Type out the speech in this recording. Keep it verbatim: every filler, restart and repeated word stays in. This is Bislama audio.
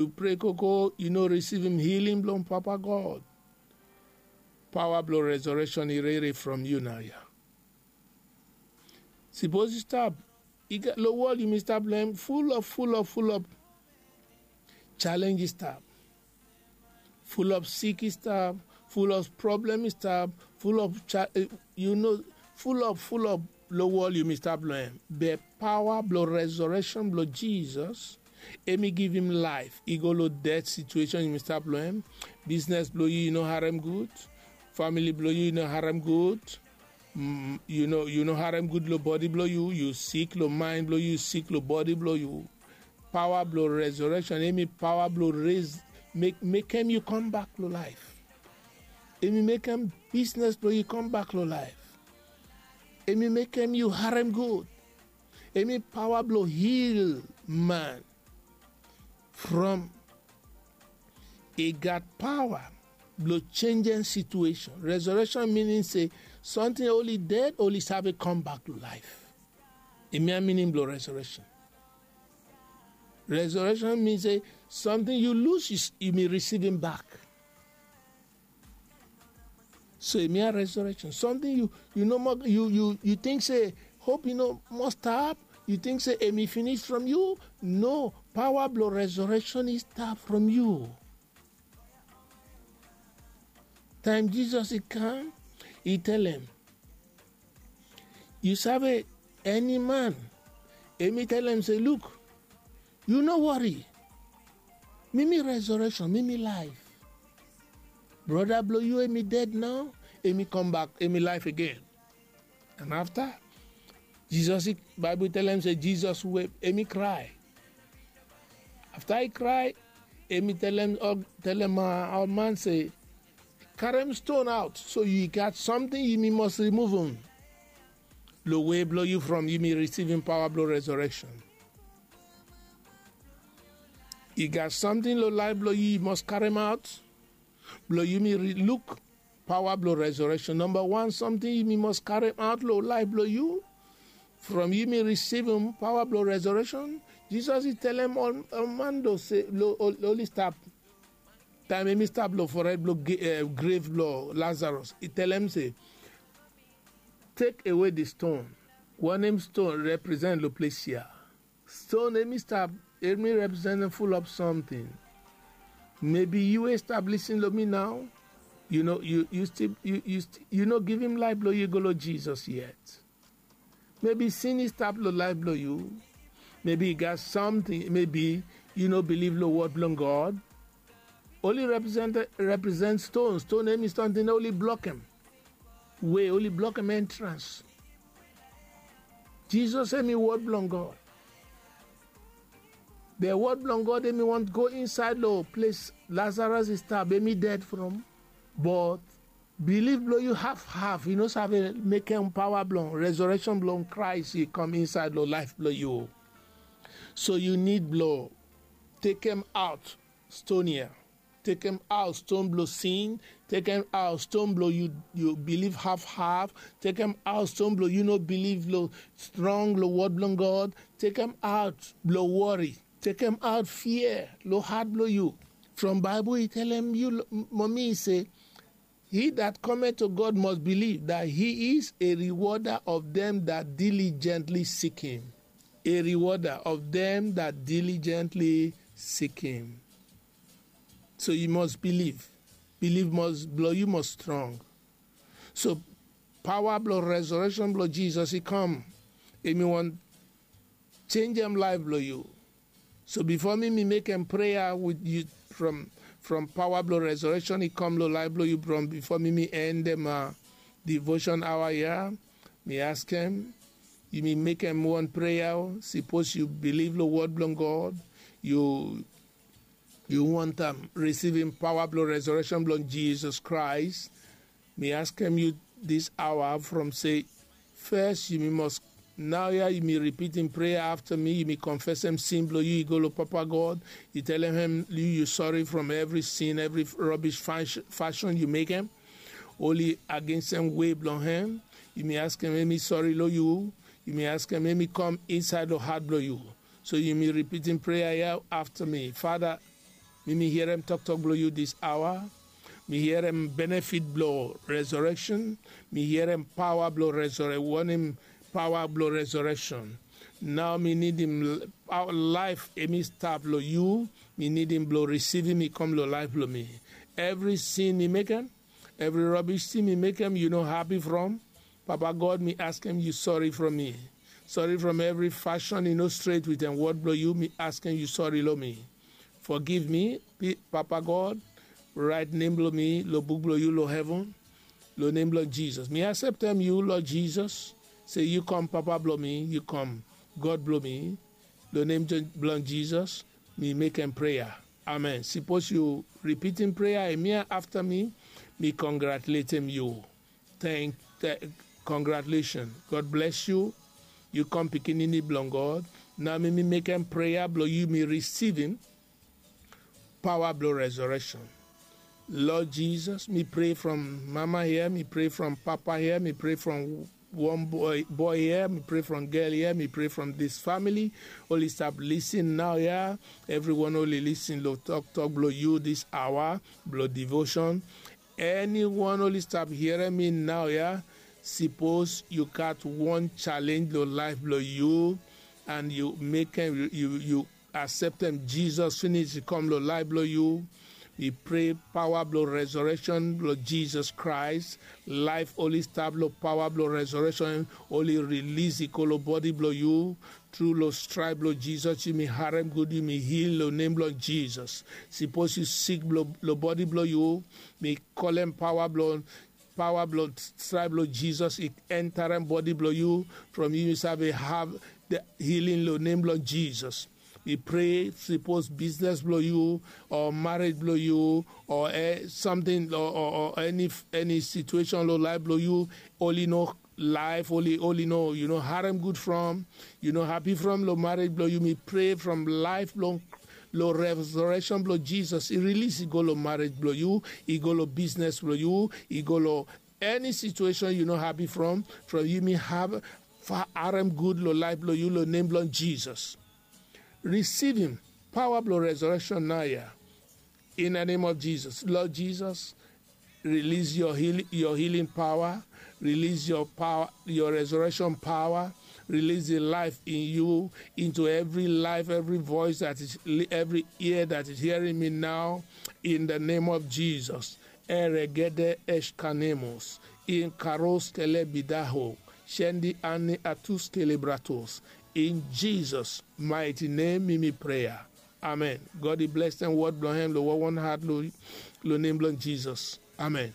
Yu pray koko, yu no risivim hiling blong Papa God. Paoa blong resorekshon i rere from yu naoia. Sipos yu stap, long wol yumi stap long hem, fulop fulop fulop chalenj i stap, fulop sik i stap, fulop problem i stap, fulop yu no, fulop fulop long wol yumi stap long hem. Be paoa blong resorekshon blong Jisas, hem i givim laef i go long ded situeshon yumi stap long hem. Bisnes blong yu i no harem gud. Famili blong yu i no harem gud. Yu no harem gud long bodi blong yu. Yu sik long maen blong yu, yu sik long bodi blong yu. Paoa blong resorekshon, hem i paoa blong res, mekem yu kambak long laef. Hem i mekem bisnes blong yu kambak long laef. Hem i mekem yu harem gud. Hem i paoa blong hil man from i gat paoa blong jenjem situeshon. Resorekshon minin se samting oli ded oli save kambak long laef. Hem ya minin blong resorekshon. Resorekshon min se samting yu lus, yumi risivim bak. So hem ya resorekshon. Samting yu no moa, yu ting se hop i no moa stap. Yu ting se hem i finis from yu. No, paoa blong resorekshon i stap from yu. Taem Jisas i kam, i telem, yu save, eni man, hem i telem se, luk, yu no wori. Mi mi resorekshon, mi mi laef. Broda blong yu hem i ded nao, hem i kambak, hem i laef agen. An afta Jisas, Baebol i telem se Jisas wep, hem i krae. Afta i krae, hem i telem ol man se, karem ston aot. So yu gat samting yumi mas rimuvum long we blong yu from yumi risivim paoa blong resorekshon. I gat samting long laef blong yu yu mas karem aot blong yumi luk paoa blong resorekshon. Namba wan samting yumi mas karem aot long laef blong yu from yumi risivim paoa blong resorekshon. Jisas i telem ol man do se, oli stap, taem hem i stap long fored blong grev blong Lazarus, i telem se, tek awe di ston. Wanem ston represent long ples ya? Ston hem i stap, hem i representem fulap samting. Mebi yu we stap lisin long mi nao, yu no, yu stil, yu no givim laef blong yu go long Jisas yet. Mebi sin i stap long laef blong yu. Mebi i gat samting, mebi yu no bilif long wod blong God. Oli represent, represent ston. Ston hem i samting oli blokem we, oli blokem entrans. Jisas hem i wod blong God. Be wod blong God hem i wantem go insaed long ples Lazarus i stap, hem i ded from. But bilif blong yu hafhaf, i no save mekem paoa blong resorekshon blong Kraes i kam insaed long laef blong yu. So yu nid blong tekem aot ston ya. Tekem aot ston blong sin. Tekem aot ston blong yu bilif hafhaf. Tekem aot ston blong yu no bilif long strong long wod blong God. Tekem aot blong wori. Tekem aot fia long hat blong yu. From Baebol i telem yu, momi, i se, he that cometh to God must believe that he is a rewarder of them that diligently seek him. A rewarder of them that diligently seek him. So yu mas bilif. Bilif mas, blong yu mas strong. So paoa blong resorekshon blong Jisas i kam. Hem i wantem jenjem laef blong yu. So bifo mi mi mekem prea wit yu from, from paoa blong resorekshon i kam long laef blong yu, from bifo mi mi endem devoshon aoa ya, mi askem yumi mekem wan prea. Sipos yu bilif long wod blong God, yu yu wantem risivim paoa blong resorekshon blong Jisas Kraes, mi askem yu dis aoa from se, fes yumi mas, naoia yumi ripitim prea afta mi, yumi konfesem sin blong yu, yu go long Papa God, yu telem hem yu, yu sori from evri sin, evri robis fashon yu mekem oli agensem we blong hem. Yumi askem hem i sori long yu. Yumi askem hem i kam insaed long hat blong yu. So yumi ripitim prea ya afta mi. Fada, Mi mi hierem toktok blong yu dis aoa. Mi hierem benefit blong resurekshon. Mi hierem paoa blong resurek wanem, paoa blong resurekshon. Nao mi nidim laef emi stap long yu. Mi nidim blong risivim i kam long laef blong mi. Evri sin mi mekem, evri robish tin mi mekem yu no hapi from, Papa God, mi askem yu sori from mi. Sori from evri fashon i no stret wetem wod blong yu. Mi askem yu sori long mi. Fogiv mi, Papa God. Raet nem blong mi long buk blong yu long heven. Long nem blong Jizas mi aseptem yu, Lord Jizas, se yu kam Papa blong mi, yu kam God blong mi. Long nem blong Jizas mi mekem prea. Amen. Sipos yu ripitim prea emia afta mi, mi kongratuletem yu. Teng, teng, congratulations. God bless you. Yu kam pikinini blong God. Nao mi mi mekem prea blong yu mi risivim paoa blong resurekshon. Lord Jesus, mi pray from mama here, mi pray from papa here, mi pray from one boy, boy here, mi pray from girl here, mi pray from this family. Oli stap lisin nao ya. Evriwan oli lisin long toktok blong yu dis aoa blong devotion. Eniwan oli stap hierem mi nao ya, sipos yu gat wan chalenj long laef blong yu, and yu mekem, yu, yu aseptem Jizas finis i kam long laef blong yu. Mi pray paoa blong resurekshon blong Jizas Kraes. Laef oli stap long paoa blong resurekshon, oli rilis i go long bodi blong yu. Tru long straep blong Jizas yu mi harem gud, yu mi hil long nem blong Jizas. Sipos yu sik long bodi blong yu, mi kolem paoa blong paoa blong straep blong Jizas i enterem bodi blong yu. From yu mi save have the healing long nem blong Jizas. Mi pray sipos biznes blong yu o marriage blong yu o samting o eni situation long laef blong yu, oli no laef, oli, oli no, yu no harem gud from, yu no hapi from long marriage blong yu, mi pray from laef blong long resurekshon blong Jizas i rilis i go long marriage blong yu, i go long biznes blong yu, i go long eni situation yu no hapi from, from yu mi have fa harem gud long laef blong yu long nem blong Jizas. Risivim paoa blong resurekshon nao ya. In the name of Jesus, Lord Jesus, release your healing, your healing power, release your power, your resurrection power, release the life in you into every life, every voice that is, every ear that is hearing me now, in the name of Jesus. Eregede eshkanemos, in karos kelebidaho, shendi ani atus kelebratos. In Jesus' mighty name, mi mi prayer. Amen. God i bless dem word blong hem lo wawan heart lo, lo name blong Jesus. Amen.